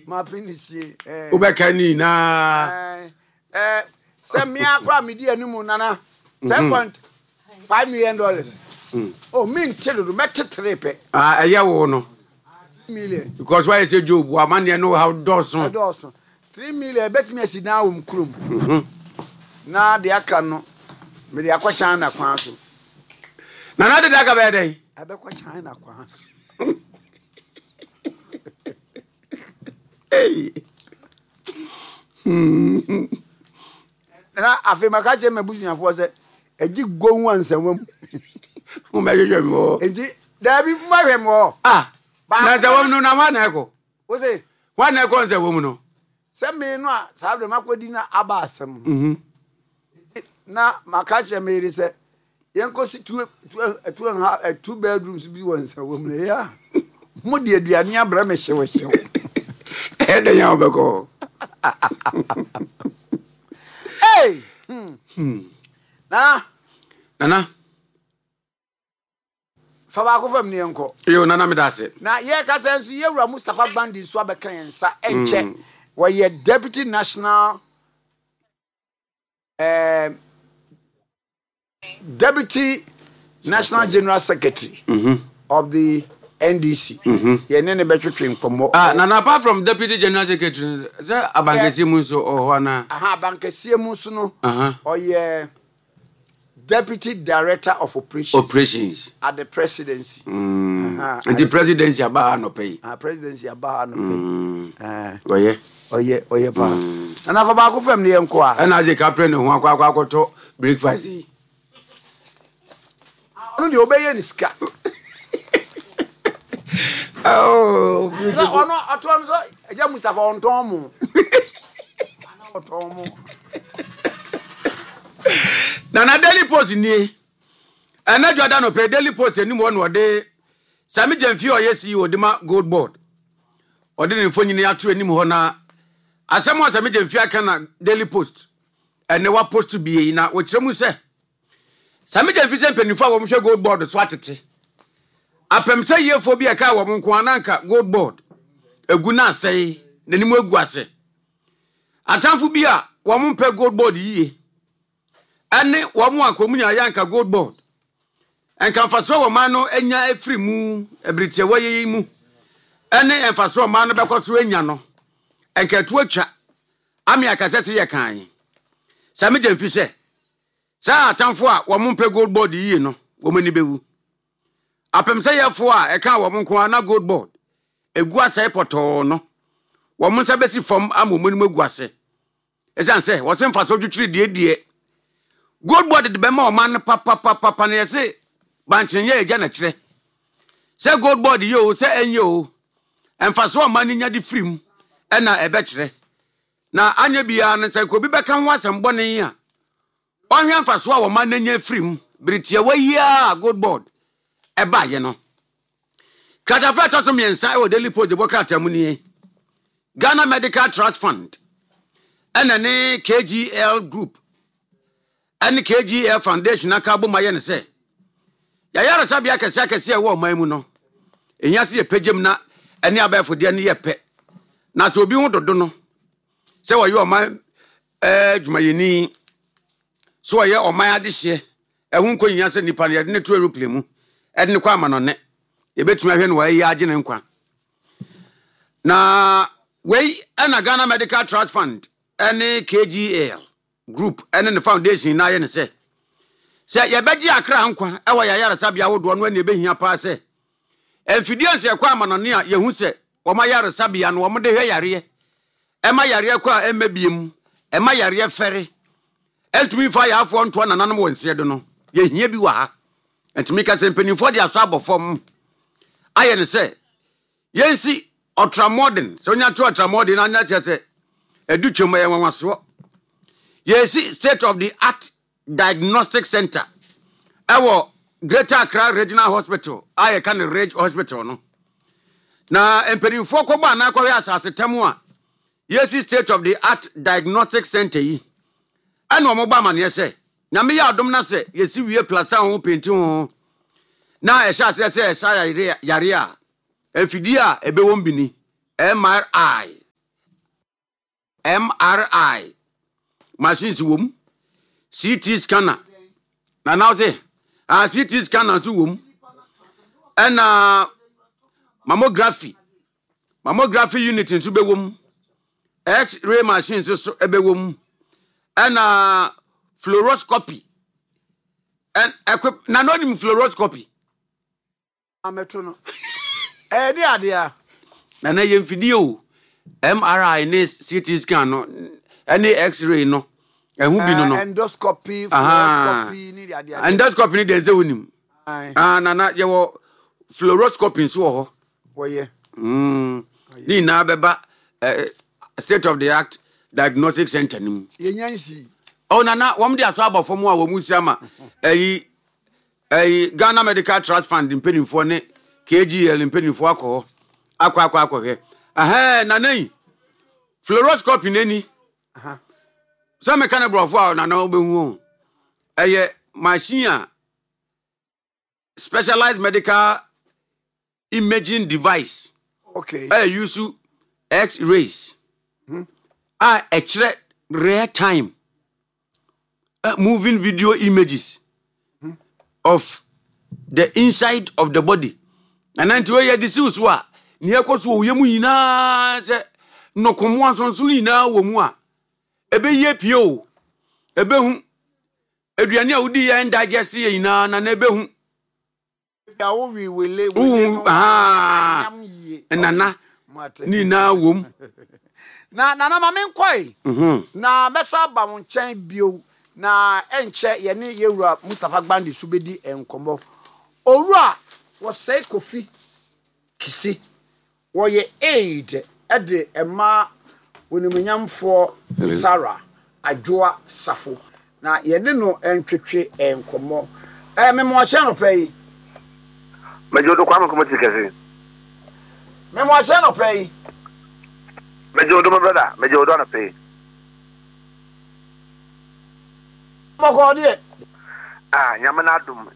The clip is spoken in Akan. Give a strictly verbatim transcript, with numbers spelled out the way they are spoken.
M'apinisie ɛɛ. Wobɛka ne nyinaa. Ɛɛ sɛ mmea koraa medi anim, Nana, ten point five million dollars. O mi nte dodo, mɛte tere pɛ. Ah, ɛyɛ wo no. Million. Because wayɛ sɛ Job, amanneɛ no haw dɔɔso. Ɛdɔɔso. Three million ɛbɛtumi asi dan wɔ mu kurom. Mhm. Na deɛ aka no, mede akɔ China kwan so. Nana dede aka bɛyɛ dɛn? Ɛbɛkɔ China kwan so. Hey. Hmm. Na afei maka kyerɛ m'abusuafoɔ sɛ ɛgye gohu ansɛnwa mu. Wobɛhwehwɛ me hɔ. Nti daabi, mbahwɛ me hɔ. Ah, na nsɛwɔ mu no, na hwan na ɛkɔ? Wo se? Hwan na ɛkɔ nsɛwɔ mu no? Sɛ me no a, saa berɛ makɔdi na aba asɛm no. Mhm. Na maka kyerɛ me yere sɛ yɛnkɔsi two, two, two, and half, eh, two bedrooms bi wɔ nsɛwɔ mu no, ɛyɛ a mode aduane abrɛ me hyewhyew. Ɛyɛ dɛn a wobɛkɔ hɔ? Hey! Hmm. Hmm. Nana. Nana. Fa baako fam ne yɛnkɔ. Yo, Nana, meda ase. Na yɛkasa nso, yɛwura Mustapha Gbandi nso abɛka yɛn nsa ɛnkyɛ. Mm. Wɔyɛ deputy national eh, deputy national general secretary Mhm. of the N D C. Mhm. Yɛne ne bɛtwetwe nkɔmmɔ. Ah, Nana, apart from deputy general secretary, sɛ abankɛseɛ mu nso ɔwɔ hɔ anaa? Aha, abankɛseɛ mu nso no, Aha. ɔyɛ deputy director of operations operations at the presidency. Mm. Aha. Nti presidency aba ha nɔpɛ yi. Ah, presidency aba ha nɔpɛ yi. Mm. Eh, ɔyɛ. ɔyɛ ɔyɛ paa. Nana, fa baako fam ne yɛnkɔ a. Ɛna agye kaprɛ ne ho akɔ akɔ akɔtɔ breakfast yi. Ɔno deɛ, ɔbɛyɛ ne sika. Oh, sɛ beautiful. Ɔno ɔtoɔ no sɛ ɛgya Mustapha ɔntɔn mo ana ɔtɔn mo. Nana, Daily Post nie. Ɛnɛ dwada nɔpɛ, Daily Post anim hɔ na ɔde Sammy Gyamfi a ɔyɛ C E O de ma Gold Board, ɔde ne mfonyini ato anim hɔ, na asɛm a Sammy Gyamfi aka na Daily Post ɛnɛ wapost bie yi, na wɔkyerɛ mu sɛ Sammy Gyamfi sɛ mpanimfoɔ a wɔhwɛ Gold Board so atete apɛm sɛ yiefoɔ bi a ɛka wɔn nko ara na anka Gold Board egu na asɛe n'anim agu ase. Atamfo bi a wɔn mpɛ Gold Board yie ɛne wɔn a kɔn mu nyinaa yɛ anka Gold Board nka mfasoɔ wɔ ɔman no anya afiri mu abiritiawa yi mu, ɛne mfasoɔ ɔman no bɛkɔ so anya no, nka ɛto atwa ame akasɛ sɛ yɛ kan. Sammy Gyamfi sɛ saa atamfo a wɔn mpɛ Gold Board yie no, wɔn ani bɛwu apɛm sɛ yɛfoɔ a ɛka wɔn nko ara na Gold Board egu asɛe pɔtɔɔ no, wɔn nsa bɛsi fam ama wɔn anim agu ase, ɛsiane sɛ wɔsɛ mfasoɔ twitwiri deɛ deɛ Gold Board de bɛma ɔman no papapapapa no. Yɛse bankyenyɛ agya na kyerɛ sɛ Gold Board yɛ o, sɛ ɛnyɛ o, mfasoɔ ɔman no nya de firi mu ɛna ɛbɛkyerɛ. Na anyɛ biara no, sɛ nka obi bɛka ho asɛm bɔne a, ɔhwɛ mfasoɔ a ɔman no anya firi mu bere tiawa yi a Gold Board ɛbaayɛ no. Kratafa ɛtɔ so mmiɛnsa ɛwɔ Daily Post de bɔ krataa mu nie. Ghana Medical Trust Fund ɛna ne K G L Group ɛne K G L Foundation aka abom ayɛ ne sɛ yɛyaresabea akɛseɛ akɛseɛ a ɛwɔ ɔman mu no, ɛhia sɛ yɛpɛgyam na ɛne abɛɛfodeɛ no yɛ pɛ, na sɛ obi ho dodo no sɛ wɔyɛ ɔman ɛɛ dwumayɛni, sɛ wɔyɛ ɔman adehyeɛ, ɛho nkɔ nyia sɛ nipa no yɛde ne to aeroplane mu ɛde ne kɔ amanɔne, yɛbɛtumi ahwɛ no wɔayɛ agye ne nkwa. Na wei ɛna Ghana Medical Trust Fund ɛne K G L Group ɛne ne foundation na ayɛ ne sɛ sɛ yɛbɛgye akra nkwa ɛwɔ yɛ ayaresabea ahodoɔ no, ɛne ɛbɛhia paa sɛ mfidie nso yɛkɔ amanɔne a yɛhu sɛ wɔn ayaresabea no, wɔn de hwɛ yareɛ, ɛma yareɛ kɔ a ɛmma biem, ɛma yareɛ fɛre, ɛntumi nfa ayaafoɔ ntoa nananom wɔ nseɛ do no, yɛhia bi wɔ ha. Ntumi ka sɛ mpanimfoɔ de asɔ abɔ fam ayɛ ne sɛ yɛnsi ultramodern. Sɛ onya to ultramodern na anya kyerɛ sɛ ɛdu twam, ɛyɛ nwanwasoɔ. Yɛsi state of the art diagnostic center ɛwɔ Greater Accra Regional Hospital a yɛka no Ridge Hospital no, na mpanimfoɔ kɔbɔ anaa kɔhwɛ asase tam a yɛsi state of the art diagnostic center yi, ɛna wɔn bɔ amaneɛ sɛ Nyame yɛ adom na sɛ yɛsi wie, plaster ho, paint ho, na ɛhyɛ aseɛ sɛ ɛsa yare yare a, mfidie a ɛbɛwɔ mu bi ni M R I. M R I machines wɔ mu, C T scanner na na ɔse ah, C T scanner nso wɔ mu, ɛna mammography mammography unit nso bɛwɔ mu, X-ray machine nso so ɛbɛwɔ mu, ɛna fluoroscopy ɛn ɛkɔ na na onim fluoroscopy. Amɛto no ɛyɛ de adeɛ a. Na na yɛ mfidie o, M R I ne C T scan no ɛne X-ray no ɛho bi no no. Endoscopy. Aha. Fluoroscopy ne de adeɛ. Endoscopy ne deɛ nsɛ wonim. Aye. Ah, nana, yɛwɔ fluoroscopy nso wɔ hɔ. Wɔyɛ. Mm. Ne nyinaa bɛba eh, state of the art diagnostic center no mu. Yɛnya nsi. Oh, nana, wɔn de asɔ abɔ fam a wɔn si ama ɛyi ɛyi Ghana Medical Trust Fund mpanimfoɔ ne K G L mpanimfoɔ akɔ hɔ akɔ akɔ akɔhwɛ. Ɛhɛn, nana yi, fluoroscopy n'ani Aha. sɛ meka ne borɔfo a, nana, wobɛhu o. Ɛyɛ machine a specialized medical imaging device okay ɛyɛ use X-rays a ɛkyerɛ real time uh, moving video images of the inside of the body. Na nti wei yɛde siw so a, nea ɛkɔ so wɔ wo yam nyinaa, sɛ nnɔkɔmmoa nsonsono nyinaa wɔ mu a, ɛbɛyie pie o, ɛbɛhu aduane a wodi yɛ ndigest yɛ nyinaa na na ɛbɛhu. Ya wo wi wele Wohu, wele no. Ah. Anyam yie. Nana. Mate. Ne nyinaa wɔ mu. Na nana, ma menkɔe Mhm. na mɛsa aba wo nkyɛn bio na ɛnkyɛ yɛne yɛwura Mustapha Gbande so bɛdi nkɔmmɔ. Owura Wɔsɛe Kofi Kisi, wɔyɛ aide ɛde ɛma onimonyamfoɔ Sarah Adwoa Safo, na yɛne no ntwetwe nkɔmmɔ. Ɛɛ, memoakyɛ nɔpɛ yi. Mɛgye do, Kwame Nkrumah ti kɛse. Memoakyɛ nɔpɛ yi. Mɛgye do, my brother, mɛgye do anɔpɛ yi. Bɔkɔɔ deɛ? Ah, Nyame n'adom.